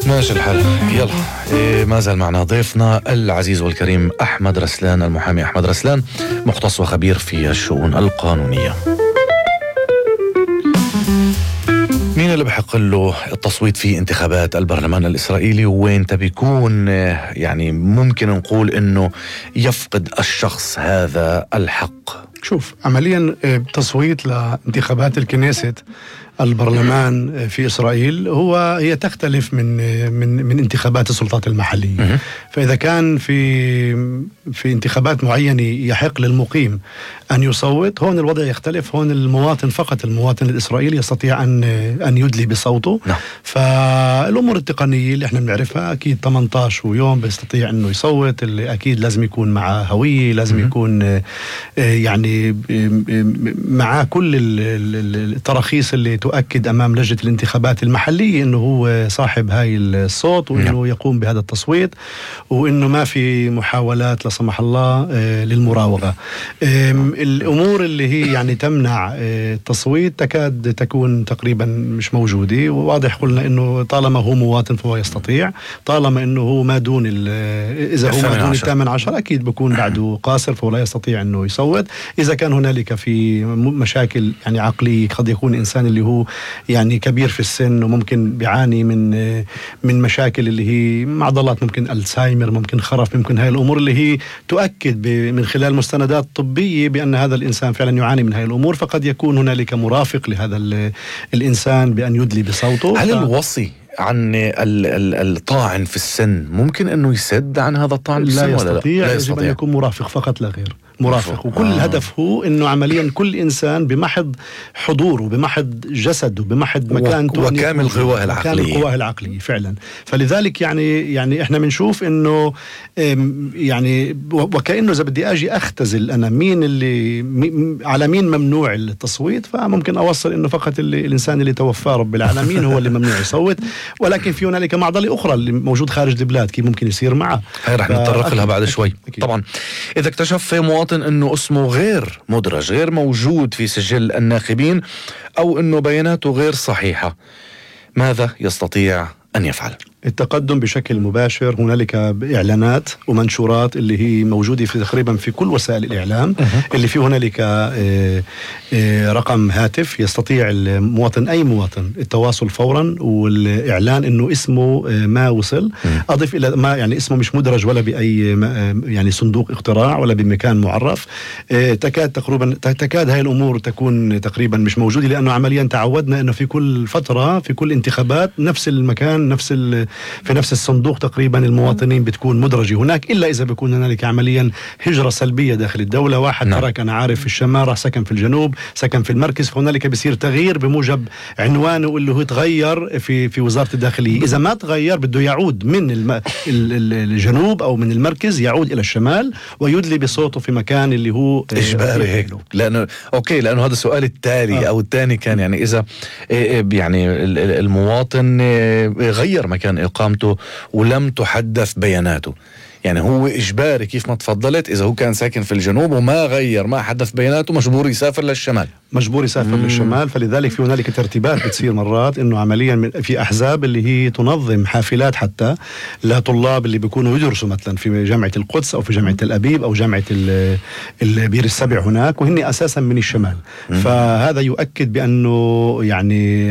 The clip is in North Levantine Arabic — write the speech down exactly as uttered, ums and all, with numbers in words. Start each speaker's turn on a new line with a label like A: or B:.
A: ماشي الحال. يلا إيه ما زال معنا ضيفنا العزيز والكريم أحمد رسلان، المحامي أحمد رسلان، مختص وخبير في الشؤون القانونية. مين اللي بحق له التصويت في انتخابات البرلمان الإسرائيلي، وين تبيكون يعني ممكن نقول إنه يفقد الشخص هذا الحق؟
B: شوف، عمليا تصويت لانتخابات الكنيست البرلمان في إسرائيل هو هي تختلف من من من انتخابات السلطات المحلية. فإذا كان في في انتخابات معينة يحق للمقيم أن يصوت، هون الوضع يختلف. هون المواطن فقط، المواطن الإسرائيلي يستطيع أن أن يدلي بصوته. نعم. فالأمور التقنية اللي احنا بنعرفها أكيد ثمانية عشر يوم بيستطيع أنه يصوت. اللي أكيد لازم يكون معه هوية، لازم م- يكون يعني معاه كل التراخيص اللي تؤكد أمام لجنة الانتخابات المحلية أنه هو صاحب هاي الصوت، وأنه نعم. يقوم بهذا التصويت، وأنه ما في محاولات لا سمح الله للمراوغة. الأمور اللي هي يعني تمنع التصويت تكاد تكون تقريبا مش موجودة. وواضح قلنا أنه طالما هو مواطن فهو يستطيع، طالما أنه هو ما دون إذا هو ما دون الثامن عشر أكيد بكون بعده قاصر فهو لا يستطيع أنه يصوت. إذا كان هنالك في مشاكل يعني عقلية، قد يكون إنسان اللي هو يعني كبير في السن وممكن بيعاني من من مشاكل اللي هي معضلات، ممكن الزهايمر، ممكن خرف، ممكن هاي الأمور اللي هي تؤكد من خلال مستندات طبية بأن هذا الإنسان فعلا يعاني من هاي الأمور، فقد يكون هنالك مرافق لهذا الإنسان بأن يدلي بصوته.
A: هل ف... الوصي عن الطاعن في السن ممكن أنه يسد عن هذا الطاعن في السن؟
B: لا يستطيع.
A: لا
B: يجب أن يكون مرافق فقط لا غير، مرافق. وكل
A: آه.
B: الهدف هو انه عمليا كل انسان بمحض حضوره، بمحض جسده، بمحض مكانته،
A: وكامل قواه العقليه،
B: وكامل قواه العقليه فعلا. فلذلك يعني يعني احنا بنشوف انه يعني وكانه اذا بدي اجي اختزل انا مين اللي مي على مين ممنوع التصويت، فممكن اوصل انه فقط اللي الانسان اللي توفاه رب العالمين هو اللي ممنوع يصوت. ولكن في هنالك معضله اخرى اللي موجود خارج البلاد، كيف ممكن يصير معه؟
A: هاي رح نتطرق لها بعد شوي. أكيد. طبعا اذا اكتشف مواطن انه اسمه غير مدرج، غير موجود في سجل الناخبين، او انه بياناته غير صحيحة، ماذا يستطيع ان يفعل؟
B: التقدم بشكل مباشر. هنالك إعلانات ومنشورات اللي هي موجودة في تقريبا في كل وسائل الإعلام، أه. اللي فيه هنالك اه اه رقم هاتف يستطيع المواطن، أي مواطن، التواصل فورا والإعلان إنه اسمه اه ما وصل. أه. أضف إلى ما يعني اسمه مش مدرج ولا بأي يعني صندوق اقتراع ولا بمكان معرف. اه تكاد تقريبا تكاد هاي الأمور تكون تقريبا مش موجودة، لأنه عمليا تعودنا إنه في كل فترة في كل انتخابات نفس المكان، نفس في نفس الصندوق تقريبا المواطنين بتكون مدرجة هناك، إلا إذا بيكون هنالك عمليا هجرة سلبية داخل الدولة. واحد نعم. ترك أنا عارف في الشمال، راح سكن في الجنوب، سكن في المركز، فهنالك بيصير تغيير بموجب عنوانه اللي هو تغير في في وزارة الداخلية. إذا ما تغير بده يعود من الم... الجنوب أو من المركز، يعود إلى الشمال ويدلي بصوته في مكان اللي هو
A: إجباري هيك. لأنه أوكي، لأنه هذا السؤال التالي آه. أو الثاني كان يعني إذا يعني المواطن غير مكان إقامته ولم تحدث بياناته، يعني هو إجباري كيف ما تفضلت، إذا هو كان ساكن في الجنوب وما غير ما حدث بياناته مجبور يسافر للشمال،
B: مجبور يسافر مم. للشمال. فلذلك في هنالك ترتيبات بتصير مرات إنه عمليا في أحزاب اللي هي تنظم حافلات حتى لطلاب اللي بيكونوا يدرسوا مثلا في جامعة القدس أو في جامعة تل أبيب أو جامعة البير السبع هناك، وهن أساسا من الشمال. مم. فهذا يؤكد بأنه يعني